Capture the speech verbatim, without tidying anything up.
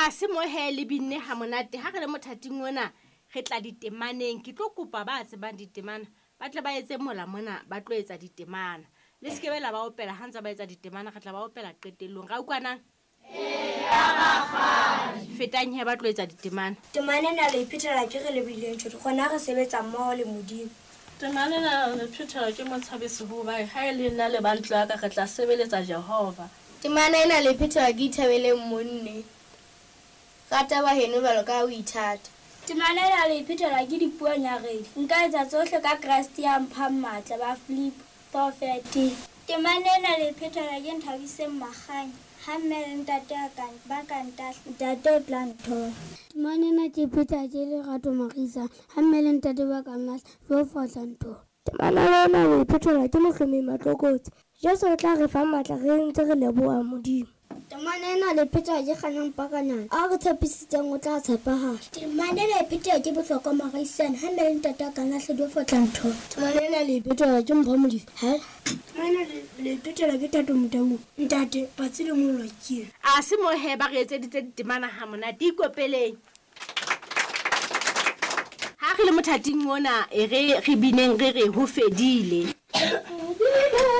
A se mo he le binne ha monate. Ha re le mothating ona re tla ditemaneng. Ke tlo kopa ba tsebang ditemana ba tle ba etse mola mona, ba tlo etsa ditemana. Le se ke be la ba opela ha ntse ba etsa ditemana, re tla ba opela qetellong. Ra utlwanang? Fetang he ba tlo etsa ditemana. Temana ena le iphethela ke re lebohileng tjho, rona re sebetsa mmoho le Modimo. Temana ena le phethela ke Motshabisi hoba ha e le nna le ba ntlo ya ka re tla sebeletsa Jehova. Temana ena le phethela ke Ithabeleng Monne. Rata ba heno jwalo ka ha o ithata. Temana ena le phethela ke Dipuo Nyaredi. Nka etsa tsohle ka Kreste ya mphang matla, ba Filipi four thirteen. Temana ena le phethela ke Nthabiseng Makganya. Ha mme le ntate a ka, ba ka ntahla, ntate o tla nthola. Temana ena ke phethela ke Lerato Marisa. Ha mme le ntate ba ka nlahla, Jehova o tla nthola. Temana ena le phethela ke Mohlomi Matlokotsi. Jesu o tla re fa matla re ntse re leboha Modimo. Temana ena le phethela ke Kganyang Pakanyana. A re tshepisitseng o tla tshepahala. Temana ena e phethela ke Bohlokwa Maraisane. Ha mme le ntate a ka nlahla, Jehova o tla nthola. Temana ena le phethela ke Mpho Modise. Ha temana le phethela ke Thato Motaung. Ntate, patsi le mollo ke. A se mo he ba re etseditse ditemana ha monate. Ikopeleng. Ha re le mothating ona, e re re bineng re re ho fedile.